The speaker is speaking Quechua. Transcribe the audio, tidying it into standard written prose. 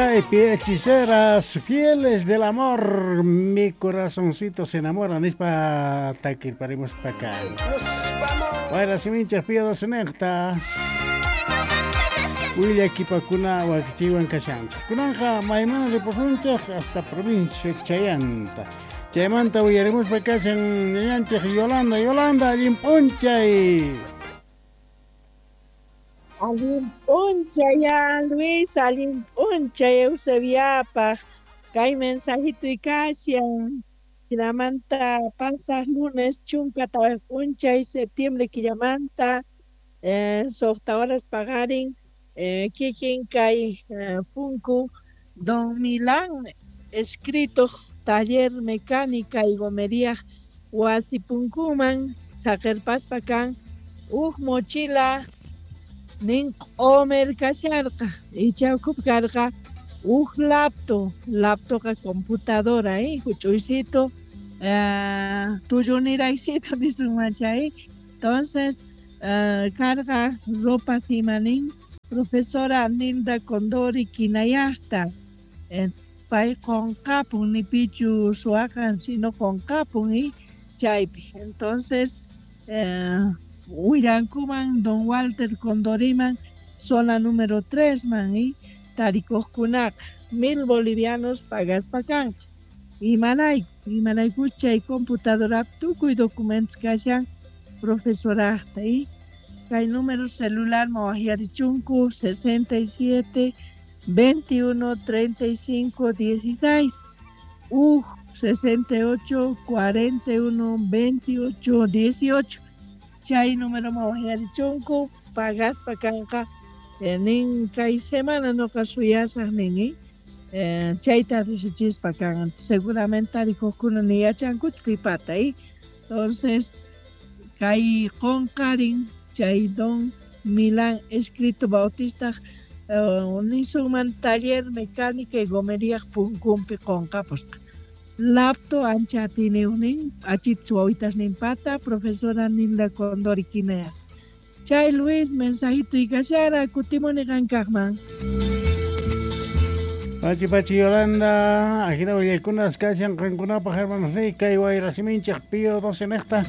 Hechiceras fieles del amor, mi corazoncito se enamora, nispa takirparimus paka. Wayra siminchaq Pío 12 niqta. Willakipakuna wakichiwan kashanchik. Kunanqa mayman ripusunchik hasta provincia Chayanta. Chaymanta uyarimuspa kashan ñañanchik Yolanda. Yolanda, allin p'unchay. Allin p'unchay Luis, allin p'unchay Eusebiapaq. Kay mensajito kashan. Jinamanta pasaq lunes chunka tawa p'unchay septiembre killamanta suqta horas paqarin kikin kay punku Don Milán escrito taller mecánica y gomería wasi punkuman saqerpaspa kan huk mochila nin q'umir kasharqa icha ukhupi karqa huk laptop, laptopqa computadora huch'uysito tulluniraysito nisunman chay. Entonces carga ropa simanin profesora Nilda Condori Kinayaqta pay qunqapun ni pichu suwaqan sino qunqapun chaypi. Entonces wirankuman don Walter Condoriman zona número 3 man tarikuqkunaqa 1000 bolivianos pagaspa kanqa. Imarayku imaraykuch chay computadorapi tukuy documentos kashan profesoraqta kay número celular mawaqyarichunku 67 21 35 16 uj 68 41 28 18 chay número mawaqyarichunku pagaspa kanqa nin kay semana noqa suyasaq nin chayta riqsichispa kan seguramente tarikuqkuna ni yachankuchu pipata. Entonces kay qunqarin chay don Milán escrito Bautista nisunman taller mecánica y gomería punkunpi qunqapusqa. Lapto ancha atiniyuqnin achit wawitas ninpata profesora Nilda Condori Kinaya. Chay Luis mensajito y kashara kutimuni qankaqman. Pachi pachi Yolanda, ajina willaykunas kashan qankunapaq hermanos ni kay wayra siminchik Pío 12 niqta.